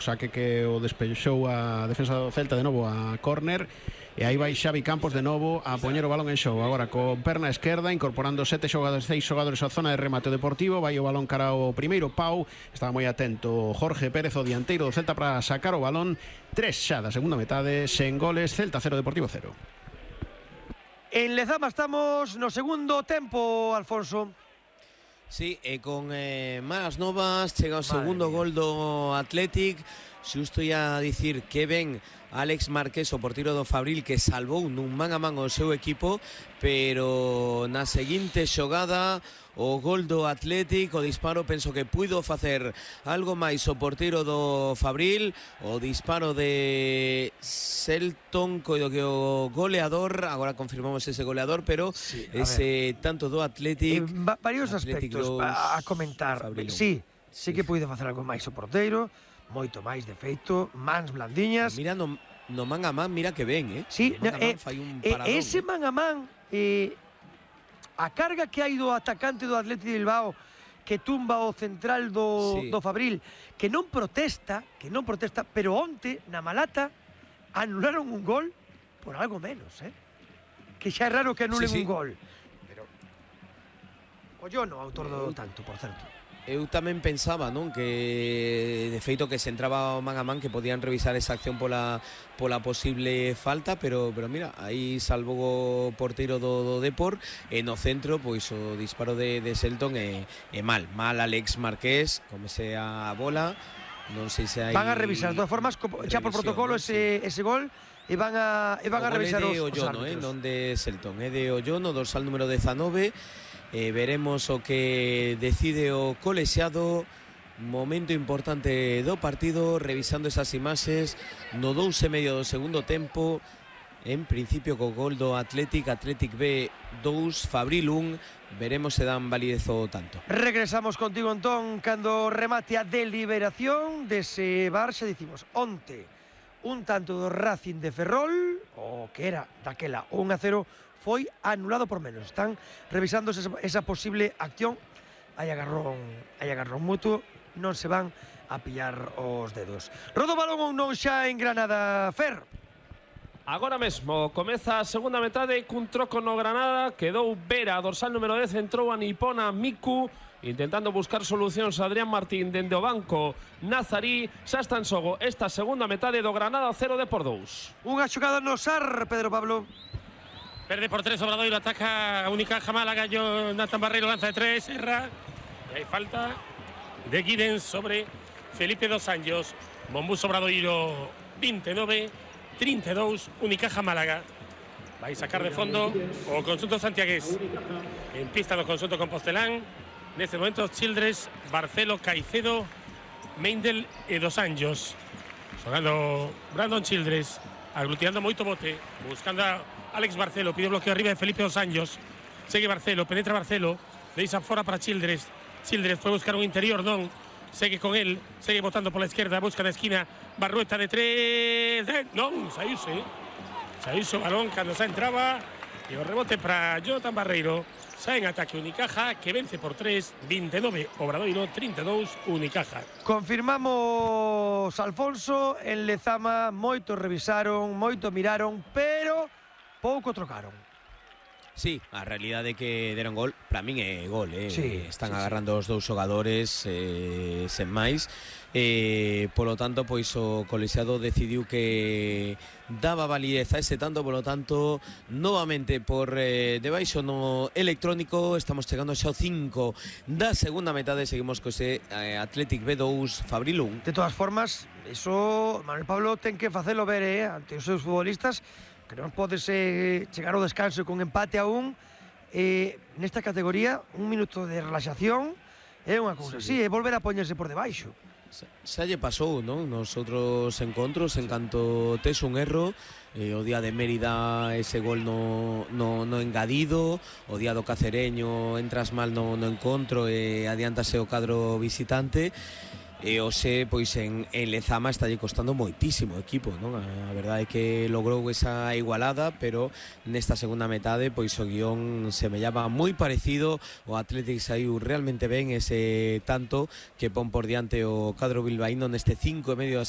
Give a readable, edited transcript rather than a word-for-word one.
saque que o despexou a defensa do Celta de novo a córner, e aí vai Xavi Campos de novo a poñer o balón en xogo, agora con perna esquerda, incorporando 6 xogadores á zona de remate deportivo. Vai o balón cara ao primeiro pau, estaba moi atento Jorge Pérez, o dianteiro do Celta, para sacar o balón. 3 xa da segunda metade, sen goles, Celta 0, Deportivo 0. En Lezama estamos no segundo tempo, Alfonso. Sí, con malas novas, chega o segundo gol do Athletic. Xusto ia dicir que ven Alex Marqués, o porteiro do Fabril, que salvou nun man a man o seu equipo, pero na seguinte xogada o gol do Athletic, o disparo, penso que puido facer algo máis o porteiro do Fabril. O disparo de Selton, coido que o goleador, agora confirmamos ese goleador, pero sí, ese tanto do Athletic, varios aspectos a comentar. Sí que puido facer algo máis o porteiro, moito máis, de feito, mans blandiñas. Mira, no man a man, mira que ben, Sí, ese man a man, a carga que hai do atacante do Athletic de Bilbao, que tumba o central do Fabril, que non protesta, pero onte, na Malata, anularon un gol por algo menos, que xa é raro que anulen un gol. Pero Ollono, autor do tanto, por certo. Eu tamén pensaba, non, que de feito que se entraba o man a man, que podían revisar esa acción pola posible falta, pero mira, aí salvou o porteiro do Depor, e no centro, pois o disparo de Selton é mal Alex Marqués, comese a bola, non sei se hai... Van a revisar, de todas formas, xa por protocolo ese gol, e van a revisar os árbitros. Non de Selton, é de Ollono, dorsal número 19. Veremos o que decide o colexiado. Momento importante do partido, revisando esas imaxes no 2,5 do segundo tempo. En principio co gol do Athletic B 2, Fabril 1. Veremos se dan validez o tanto. Regresamos contigo, Antón, cando remate a deliberación dese Barça. Dicimos onte un tanto do Racing de Ferrol, o que era daquela 1-0, foi anulado por menos. Están revisando esa posible acción. Hai agarrón mutuo, non se van a pillar os dedos. Rodo balón ou non xa en Granada, Fer? Agora mesmo comeza a segunda metade cun troco no Granada. Quedou Vera, dorsal número 10, entrou a Nipona Miku, intentando buscar solucións Adrián Martín dende o banco. Nazarí, xa está en xogo esta segunda metade do Granada 0 Depor 2. Unha xogada no SAR, Pedro Pablo. Verde por 3, Obradoiro ataca a Unicaja Málaga, Jonathan Barreiro lanza de 3, erra, e hai falta de Guiden sobre Felipe dos Anjos. Mombús Obradoiro 29-32, Unicaja Málaga. Vai sacar de fondo o conxunto santiagués. En pista do conxunto compostelán, neste momento Childress, Barcelo, Caicedo, Meindel e dos Anjos. Xogando Brandon Childress, aglutinando moito bote, buscando a Alex Barcelo, pide bloqueo arriba de Felipe dos Anjos. Segue Barcelo, penetra Barcelo, deixa fora para Childress. Childress foi buscar un interior, non. Segue con él, segue botando por la izquierda, busca na esquina, Barrueta de 3, non, saíuse o balón cando xa entraba, e o rebote para Jonathan Barreiro. Xa en ataque Unicaja, que vence por 3, 29 Obradoiro, 32 Unicaja. Confirmamos, Alfonso, en Lezama moito revisaron, moito miraron, pero pouco trocaron. Sí, a realidade é que deron gol, para min é gol, están agarrando os dous xogadores sen máis, polo tanto, pois o colexiado decidiu que daba validez a ese tanto, polo tanto, novamente por debaixo no electrónico, estamos chegando xa ao 5 da segunda metade, seguimos co ese Athletic B2, Fabril 1. De todas formas, eso Manuel Pablo ten que facelo ver ante os seus futbolistas, que non podes chegar ao descanso con empate a 1, nesta categoría, un minuto de relaxación é unha cousa así, é volver a poñerse por debaixo. Xa lle pasou, non? Nos outros encontros, en canto tes un erro, o día de Mérida ese gol no engadido, o día do Cacereño entras mal no encontro e adiántase o cadro visitante. E hoxe, pois en Lezama está lle costando moitísimo o equipo, non? A verdade é que logrou esa igualada, pero nesta segunda metade, pois o guión semellaba moi parecido. O Athletic saiu realmente ben ese tanto que pon por diante o cadro bilbaíno neste 5,5 da segunda.